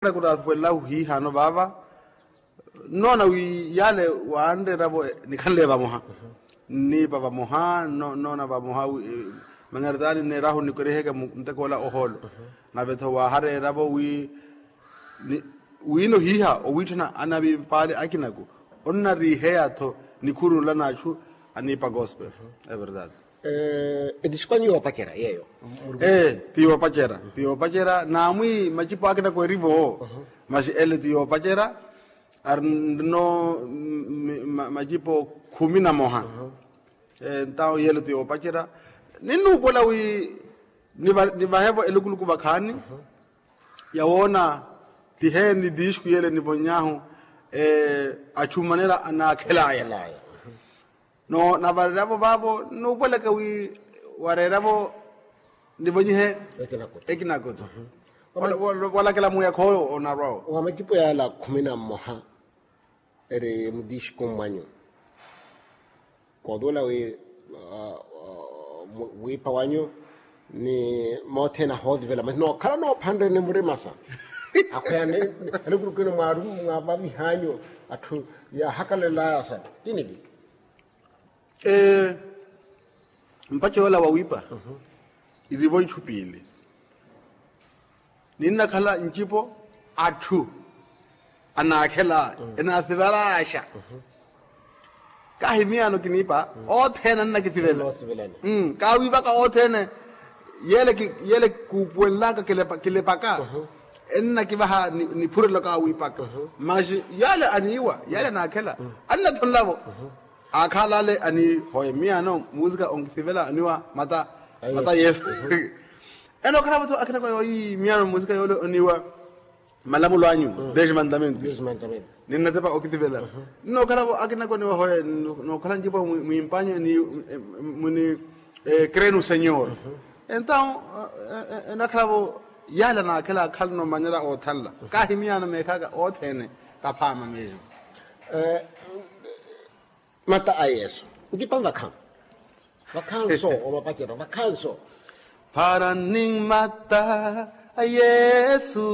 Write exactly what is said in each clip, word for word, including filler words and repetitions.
Khunaathukwelelahu hiihano vaava. Nnoona wi yaale waanreeravo nikhanle vamoha. Nniipa vamoha nnoona vamoha. Mangaritaani nneerahu nnikoriheke muteko ola ohoolo. Nave-tho waahareeravo wi wiino hiiha owiitthana anavimpaale akinaku onnariiheya-tho nikhuru nla n'achu aniipa gospel. Everdade. Etixukanyu yoopacerya yeeyo. Ee, ti yoopacerya ti yoopacerya naamwi macipo akina kwerivo. Masi ele ti yoopacerya. Ari nno macipo khumi na moha. Entawo yeelo ti yoopacerya. Ninnuupola wi nivahevo elukuluku vakhaani. Yawoona ti heeni disku yele nivony'ahu. Achumanela anaakhel'aya. No navareravo vaavo nuupweleke wi wareeravo nivonyihe ekinakoto. Walakela muuyakha oyo onarwa-wo. Wa macipo yaala khumi na mmoha eri mudisku mmwanyu. Koothuwela wi wiipa wanyu ni mothene ahoothivela masi nookhala noophanreni murimasa. Akhweya ni elukulukino mwaavavih'anyu atthu yaahakalel'aya sa tinivi. Mpace yoola wawiipa irivo itthu piili. Ninnakhala ncipo atthu anaakhela enaasivelaxa. Kahi miyaano kiniipa othene annakisivela. Kaawiipaka othene. Yele kuupuwenlaka kilepaka ennakivaha niphurelo kaawiipaka. Masi yale aniiwa yale anaakhela annathonlavo. Aakhalale aniihoye miyaano musika onkisivela aniwa mata mata yesu. Ene okhalavo-tho akinako yooyi miyaano musika yoole oniwa malamulo anyu desmantamentu. Ninnatepa okisivela nnookhalavo akinako oniwa hoye nookhala ncipo mwimpanyu muni krenu senyor. Entawo enakhalavo yale anaakhela akhalano manyela oothanla kahi miyaano meekhaka othene. Kaphaama meyo. Mata a yesu nkipa vakhanso vakhanso. Omapacero vakhanso. Para nin mata a yesu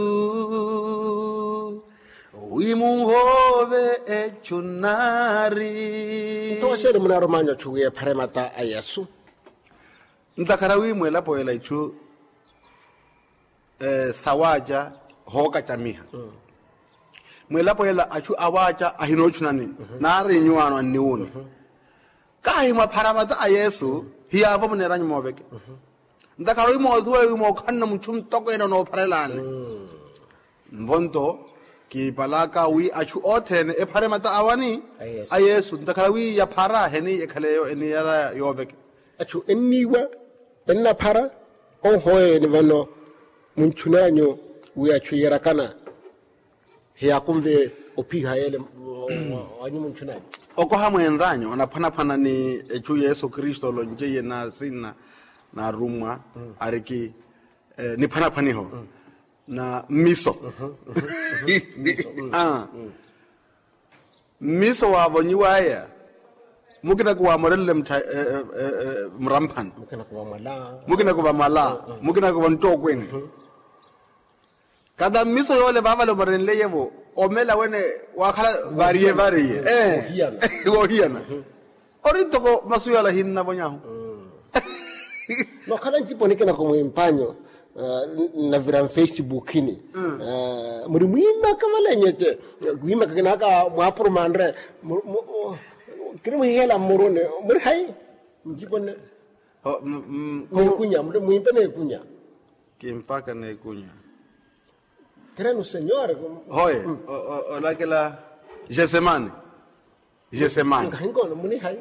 wi munhoove echu nari. Nto waxeeni munaarumanya ochu wi ephare mata a yesu? Ntakhara wi mwelapo yela ichu sawaaca hookacamiha. Mwelapo yela achu awaaca ahinoochunani naari nyuwaano anniwuuni. Kahi mwaphara mata a yesu hiyaavo muneeranyu mooveke. Ntakhara wi moothuwela wi mookhanna muchu mutokweene onoopharelani. Nvo nto kiipalaka wi achu othene ephare mata awani a yesu ntakhara wi yaphara heni ekhaleyo eniyaraya yooveke. Achu enniiwa ennaphara ohoyeni vano munchunanyu wi achu yeerakana hiyaakunve ophiha yele wanyu munchunanyu. Okoha mweenranyu anaphwanaphwana ni echu yesu kristu olonce iye na sinna na arummwa ariki niphwanaphwaniho na mmiso. Mmiso waavonyiwaya mukinaku waamorelele mramphani mukinaku vamala mukinaku vanttookwene. Kata mmiso yoole vaavale omorenleiye-vo omela wene waakhala variye variye woohiyana. Ori ntoko masu yala hinnavonyahu. Nookhala ncipo nikinako mwimpanyu nnavira mfesibukini muri mwiimaka valenye te. Wiimaka kinaka mwaapurumanre kiri muhihela mmuruni muri hayi? Ncipo nne neekunya mwiimpe neekunya. Kimpaka neekunya. Kirenu senyore hoye olakela jesemani. Jesemani nkahinkono muni hayi?